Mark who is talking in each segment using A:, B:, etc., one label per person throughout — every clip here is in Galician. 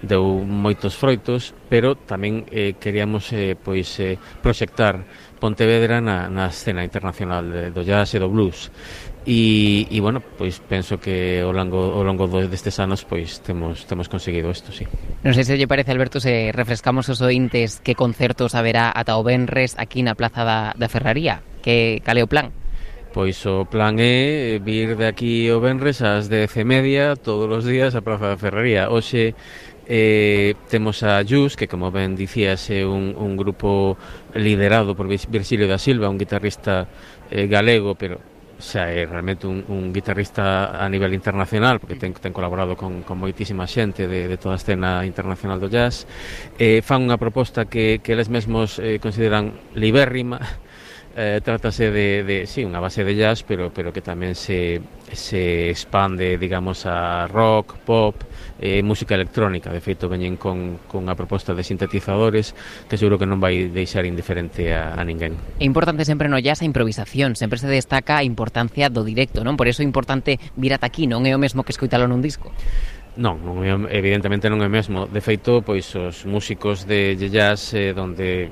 A: deu moitos froitos, pero tamén queríamos proxectar Pontevedra na escena internacional do jazz e do blues. E bueno, pois penso que ao longo destes anos pois temos conseguido isto, sí.
B: Non sei se lle parece, Alberto, se refrescamos os ointes que concertos haberá ata o venres aquí na Plaza da Ferraría. Cal é o plan?
A: Pois o plan é vir de aquí o venres ás 10:30 todos os días á Praza da Ferraría. Hoxe temos a Jus, que como ben dicías é un grupo liderado por Virxilio da Silva, un guitarrista galego, pero xa é realmente un guitarrista a nivel internacional, porque ten colaborado con moitísima xente de toda a escena internacional do jazz. Fan unha proposta que eles mesmos consideran libérrima. Trátase de sí, unha base de jazz, pero que tamén se expande, digamos, a rock, pop, música electrónica. De feito, veñen con a proposta de sintetizadores que seguro que non vai deixar indiferente a ninguén.
B: É importante sempre no jazz a improvisación, sempre se destaca a importancia do directo, non? Por iso é importante vir ata aquí, non é o mesmo que escoitalo nun disco.
A: Non, evidentemente non é o mesmo. De feito, pois os músicos de jazz donde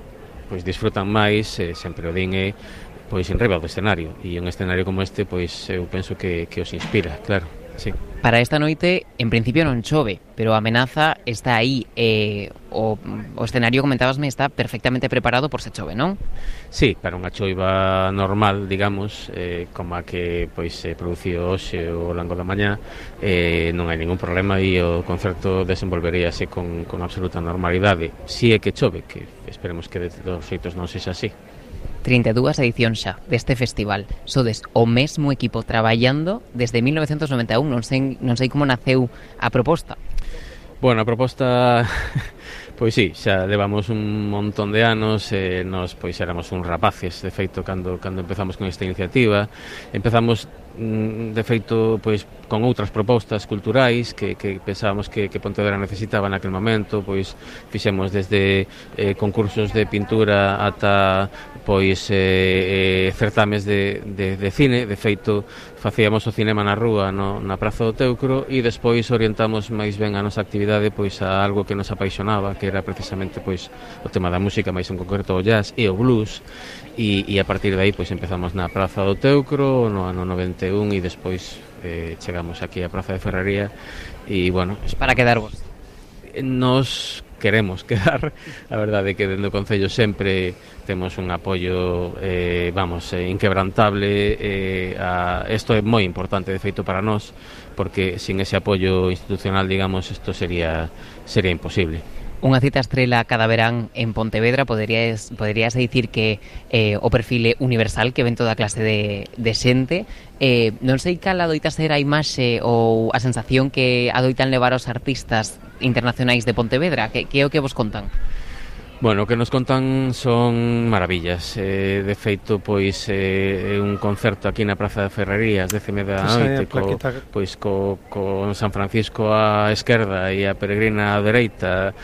A: pois disfrutan máis, sempre o din pois en riba do escenario, e un escenario como este pois eu penso que os inspira, claro, sí.
B: Para esta noite, en principio non chove, pero a amenaza está aí, o escenario, comentábasme, está perfectamente preparado por se chove, non?
A: Sí, para unha choiva normal, digamos, como a que pois se produciu hoxe ao longo da mañá, non hai ningún problema e o concerto desenvolveríase con absoluta normalidade. Si é que chove, que esperemos que de todos os xeitos non sexa así.
B: 32 edicións xa deste festival. Sodes o mesmo equipo traballando desde 1991. Non sei como naceu a proposta.
A: Bueno, a proposta pois sí, xa levamos un montón de anos, nós pois éramos uns rapaces, de feito, cando empezamos con esta iniciativa. Empezamos de feito pois con outras propostas culturais que pensábamos que Pontevedra necesitaba naquele momento. Pois fixemos desde concursos de pintura ata pois certames de cine. De feito, facíamos o cinema na rúa, na Praza do Teucro, e despois orientamos máis ben a nosa actividade pois a algo que nos apaixonaba, que era precisamente pois o tema da música, máis en concreto o jazz e o blues, e a partir de aí pois empezamos na Praza do Teucro no ano 91 e despois chegamos aquí á Praza de Ferraría. E bueno,
B: para quedarvos.
A: Nos queremos quedar. A verdade é que dentro do Concello sempre temos un apoio inquebrantable. Isto é moi importante, de feito, para nós, porque sin ese apoio institucional, digamos, isto sería imposible.
B: Unha cita estrela cada verán en Pontevedra, poderíase dicir que o perfil universal que ven toda clase de xente. Non sei cal adoita ser a imaxe ou a sensación que adoitan levar os artistas internacionais de Pontevedra. Que é o que vos contan?
A: Bueno, o que nos contan son maravillas. De feito, pois un concerto aquí na Praza de Ferraría ás 10:30 da noite, con San Francisco á esquerda e a Peregrina á dereita,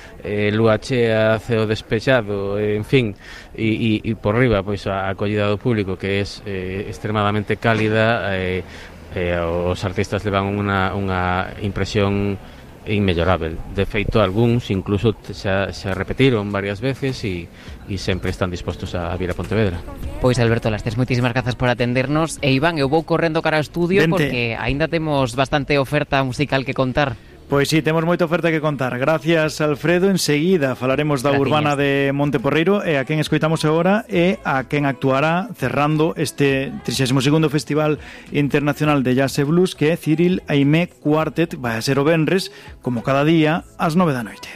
A: lúa chea, ceo despexado, en fin, e por riba pois a acollida do público, que é extremadamente cálida. Os artistas levan unha impresión inmellorable. De feito, algúns incluso xa repetiron varias veces e sempre están dispostos a vir a Pontevedra.
B: Pois, Alberto Lastres, moitísimas grazas por atendernos. E Iván, eu vou correndo cara ao estudio. Vente, porque aínda temos bastante oferta musical que contar.
C: Pois sí, temos moita oferta que contar. Gracias, Alfredo. Enseguida falaremos da Urbana de Monteporreiro, e a quen escoitamos agora é a quen actuará cerrando este 32º Festival Internacional de Jazz e Blues, que é Cyril Aimé Quartet. Vai a ser o venres, como cada día, ás 9 da noite.